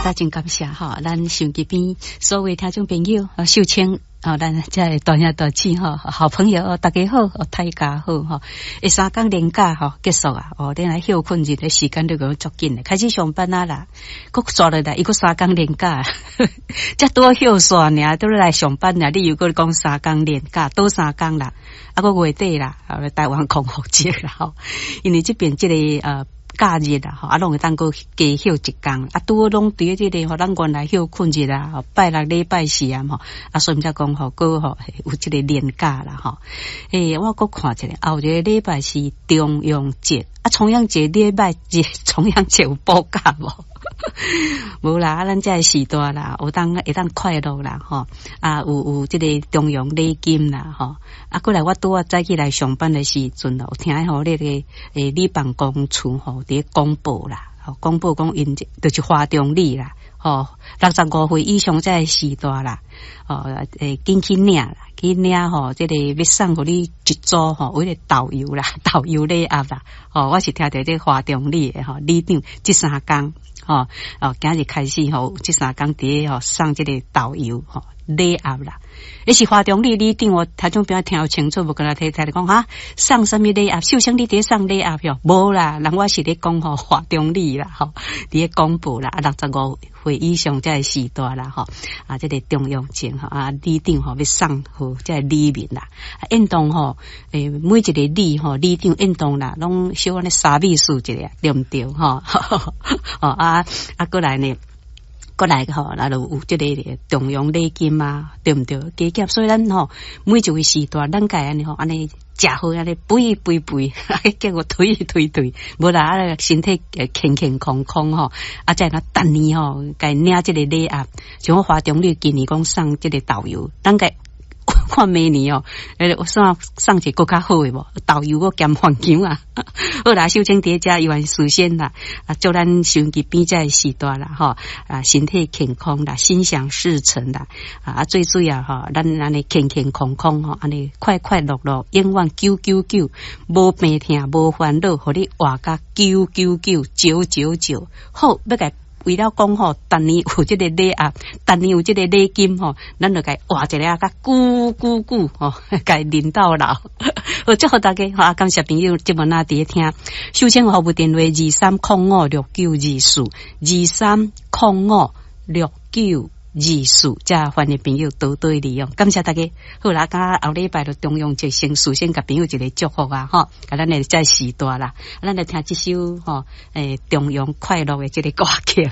啊，真感謝吼，咱收音機邊所有聽眾朋友，秀清。哦，咱遮的大兄大姊吼，好朋友，大家好，大家好吼。欸，三工連假吼結束啊，哦，恁來歇睏日的時間都閣足緊的，開始上班啊啦，閣煞落來，伊閣三工連假，才拄好歇煞爾，拄來上班爾，你又閣講三工連假，倒三工啦，啊，閣月底啦，台灣光復節啦吼，因為這邊這个假日啊，吼，啊，攏會當閣加歇一工，啊，拄好攏佇這个吼，咱原來歇睏日啊，吼，拜六禮拜四啊，吼，啊，所以才講吼，閣吼有這个連假啦，吼。欸，我閣看一下，後一个禮拜是重陽節，啊，重陽節禮拜日，重陽節有補假無？無啦，啊，咱這个時代啦，有當會當快樂啦，吼，啊，有這个重陽禮金啦，吼，啊，過來我拄仔早起來上班的時陣咯，有聽吼那個欸里辦公處吼佇咧公布啦，吼，公布講𪜶就是華中里啦，吼，65歲以上這个時代啦，吼，欸，緊去領啦，去領吼，這个欲送予你一組吼，有彼個豆油啦，豆油禮盒啦，吼，我是聽著這華中里的吼里長這三工。吼哦，今日開始吼，這三工佇咧吼送這个豆油吼禮盒啦。彼是華中里里長，我聽眾朋友聽有清楚無？敢若提提咧講哈，送啥物禮盒？秀清你佇咧送禮盒喲？無啦，人我是咧講吼華中里啦，吼佇咧公布啦，啊，65歲以上這个時代啦，吼啊，這个重陽節吼啊，里長吼欲送予這个里民啦，啊，應當吼欸，每一个里吼里長應當啦，攏小按呢沙美數一下，對毋對？吼，哦啊啊，閣來呢？閣來吼，那就有這个重陽禮金啊，對毋對？加減，所以咱吼每一位時代，咱該按呢吼，按呢食好，按呢肥肥肥，結果推推推，無啦，啊身體健健康康吼，啊才會當逐年吼，共領這个禮盒，像我華中里今年講送這个豆油，咱該看明年哦，欸，送送一個閣較好的無？豆油閣兼番薑啊！好啦，秀清佇遮伊願事先啦，啊，祝咱收音機邊這个時代啦，吼啊，身體健康啦，心想事成啦，啊，最主要吼，咱按呢健健康康吼，按呢快快樂樂，永遠九九九，無病痛，無煩惱，予你活甲九九九九九九，好，欲共為了講吼，逐年有這个禮盒，逐年有這個禮金吼，咱就共活一个較久久久吼，共忍到老。好，祝福大家，好，感謝朋友這麼那佇咧聽。秀清服務電話23056924，23056924，遮歡迎朋友多多利用。感謝大家。好啦，甲後禮拜就重陽節先事先共朋友一个祝福啊，吼，共咱的這時代啦，咱來聽這首吼，欸，重陽快樂的這个歌曲。